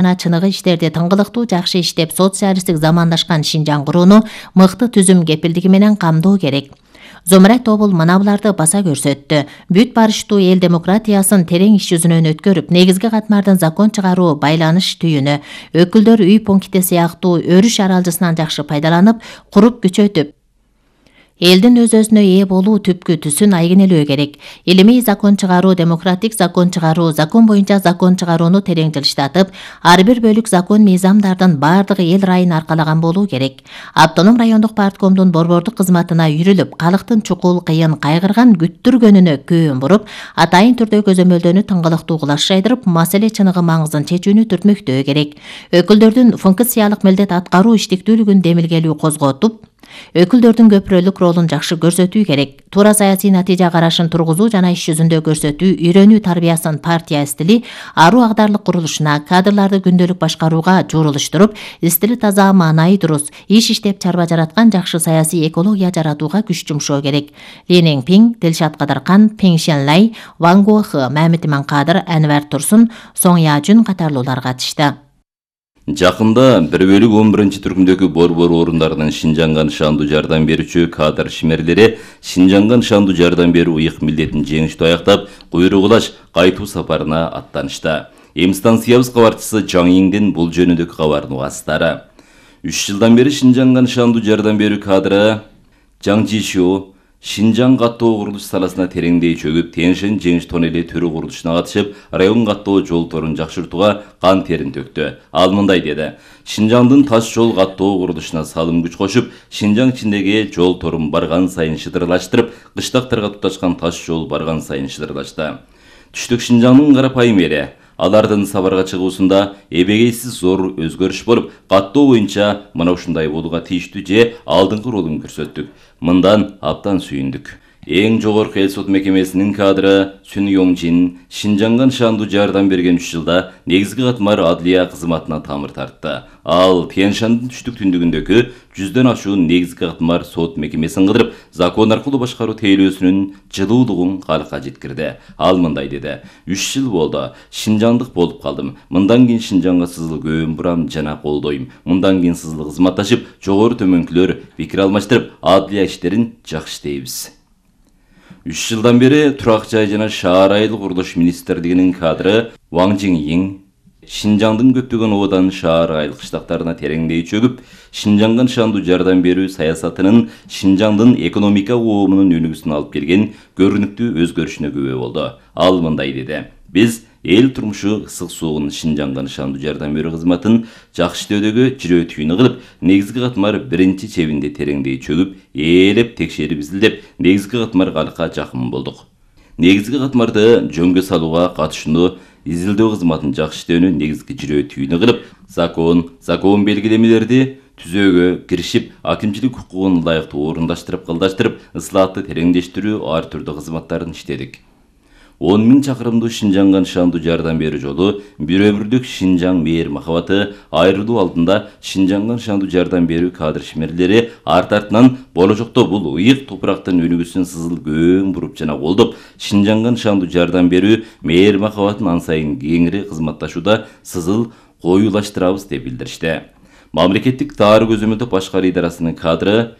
жана чыныгы иштерди тыңгылыктуу жакшы иштеп, социалисттик замандашкан Шинжаң курууну мыкты түзүм кепилдиги менен камдоо керек. Зумрат Тобул мына буларды баса көрсөттү. Бүт барыштуу эл демократиясын терең иш жүзүнөн өткөрүп, негизги катмардан закон чыгаруу байланыш түйүнү, өкүлдөр үй пункти сыяктуу өрүш аралжысынан жакшы пайдаланып, куруп күчөтүп, элдин өз-өзүнө ээ болуу түпкү түсүн айгинелөө керек. Илимий закон чыгаруу, демократик закон чыгаруу, закон боюнча закон чыгарууну терең жылыштатып, ар бир бөлүк закон мыйзамдардын бардыгы эл райын аркалаган болуу керек. Автоном райондук парткомдун борбордук кызматына үйрүлүп, калктын чукул, кыйын, кайгырган, күттүргөнүнө көөн буруп, атайын түрдө көзөмөлдөнү тыңгылыктуу кулаш жайдырып, маселе чыныгы маңызын чечүүнү түртмөктөө керек. Өкүлдөрдүн функциялык милдет аткаруу иштиктүүлүгүн демилгелүү козготуп, өкүлдөрдүн көпүрөлүк ролун жакшы көрсөтүү керек. Туура саясий натыйжа карашын тургузуу жана иш жүзүндө көрсөтүү, үйрөнүү тарбиясын партия стили аруу агдарлык курулушуна, кадрларды күндөлүк башкарууга журулуштуруп, стили таза, маанайы дурус, иш иштеп чарба жараткан жакшы саясий экология жаратууга күч жумшоо керек. Ли Неңпиң, Дилшат Кадыркан, Пең Шенлай, Ван Гуохы, Мамит Иманкадыр, Анвар Турсун, Соң Яжун катарлуулар катышты. Жакында 1/11-түркүмдөгү борбор орундарынын Шинжаңга нышандуу жардам берүүчү кадр шимерлери Шинжаңга нышандуу жардам берүү ыйык милдетин жеңиштүү аяктап, куйругулаш кайтуу сапарына аттанышты. Эми станциябыз кабарчысы Жаң Иңдин бул жөнүндөгү кабарын угасыздары. 3 жылдан бери Шинжаңга нышандуу жардам берүү кадры Жаң Жишу Шинжаң каттоо курулуш саласына тереңдей чөгүп, Тянь-Шань жеңиш тоннели төрү курулушуна катышып, район каттоо жол торун жакшыртууга кан терин төктү. Ал мындай деди: Шинжаңдын таш жол каттоо курулушуна салым күч кошуп, Шинжаң ичиндеги жол торун барган сайын шыдырлаштырып, кыштактарга туташкан таш жол барган сайын шыдырлашты. Түштүк Шинжаңдын карапайым эли алардын сапарга чыгуусунда эбегейсиз зор өзгөрүш болуп, каттоо боюнча мына ушундай болууга тийиштүү же алдыңкы ролун көрсөттүк. Мындан абдан сүйүндүк. Эң жогорку эл сот мекемесинин кадры Сүн Йомжин Шинжаңга нышандуу жардам берген 3 жылда негизги катмар адлия кызматына тамыр тартты. Ал Тянь-Шандын түштүк түндүгүндөгү 100дөн ашуун негизги катмар сот мекемесин кыдырып, закон аркылуу башкаруу тейлөөсүнүн жылуулугун калкка жеткирди. Ал мындай деди: 3 жыл болду, Шинжаңдык болуп калдым. Мындан кийин Шинжаңга сызыл көбүн бурам жана колдойм. Мындан кийин сызыл кызматташып, жогору төмөнкүлөр пикир алмаштырып, адлия иштерин жакшы иштейбиз. 3 жылдан бери турак жай жана шаар айылдык курулуш министрлигинин кадры Ван Жиңиң Шинжаңдын көптөгөн обадан шаар айыл кыштактарына тереңдей чөгүп, Шинжаңга нышандуу жардам берүү саясатынын Шинжаңдын экономика оомунун өнүгүүсүнө алып келген көрүнүктүү өзгөрүшүнө күбө болду. Ал мындай деди: Биз эл турмушу ысык суугун Шинжаңга нышандуу жардам берүү кызматын жакшы иштөөдөгү жирөө түйүнү кылып, негизги катмар биринчи чебинде тереңдей чөгүп, ээлеп текшерип изилдеп, негизги катмар калкка жакын болдук. Негизги катмарды жөнгө салууга катышууну, изилдөө кызматын жакшы иштөөнү негизги жирөө түйүнү кылып, закон белгилемелерди түзөөгө киришип, акимчилик укугун ылайыктуу орундаштырып, кылдаштырып, ысылатты тереңдештирүү ар түрдүү кызматтарын иштедик. 10 000 чакырымдуу Шинжаңга нышандуу жардам берүү жолу, бир өмүрлүк Шинжаң мээр махабаты айрылуу алдында Шинжаңга нышандуу жардам берүү кадр шимерлери арт артынан болочокто бул ыйык топурактын өнүгүүсүн сызыл көбүн буруп жана колдоп, Шинжаңга нышандуу жардам берүү мээр махабатын ан сайын кеңири кызматташууда сызыл коюлаштырабыз деп билдиришти. Мамлекеттик таар көзөмөлдөө башкаруу идарасынын кадры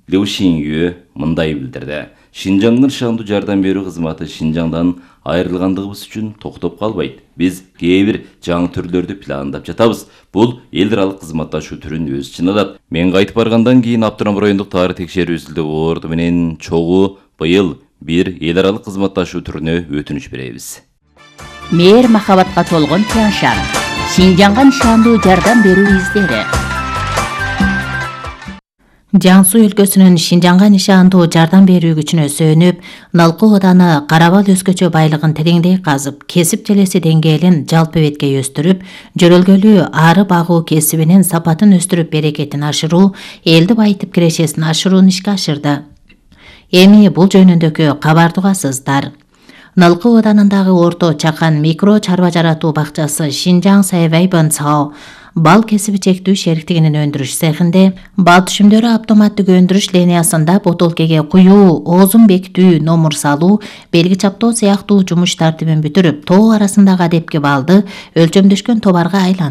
Лю Шинью мындай билдирди: Шинжаңга нышандуу жардам берүү кызматы Шинжаңдан айрылгандыгыбыз үчүн токтоп калбайт. Биз кээ бир жаңы түрлөрдү пландап жатабыз. Бул эл аралык кызматташуу түрүн өз ичине алат. Мен кайтып баргандан кийин Автоном райондук таар текшерүү изилдөө борду менен чогуу быйыл бир эл аралык кызматташуу түрүнө өтүнүч беребиз. Мээр махабатка толгон Тянь-Шань Шинжаңга нышандуу жардам берүү издери. Жаңсу өлкөсүнүн Шинжаңга нышандуу жардам берүү күчүнө сүйөнүп, Налкы ооданы Карабал өзгөчө байлыгын тереңдей казып, кесип желеси деңгээлин жалпы бетке өстүрүп, жөрөлгөлүү ары багуу кесибинин сапатын өстүрүп, берекетин ашыруу, элди байытып кирешесин ашырууну ишке ашырды. Эми бул жөнүндөгү кабарды угасыздар. Налкы оодарындагы орто чакан микро чарба жаратуу бакчасы Шинжаң Сайвай Бансао бал кесиби чектүү шериктигинин өндүрүш цехинде бал түшүмдөрү автоматтык өндүрүш линиясында бутылкеге куюу, оозун бекитүү, номур салуу, белги чаптоо сыяктуу жумуш тартибин бүтүрүп, тоо арасындагы адепки балды өлчөмдөшкөн товарга айландыруу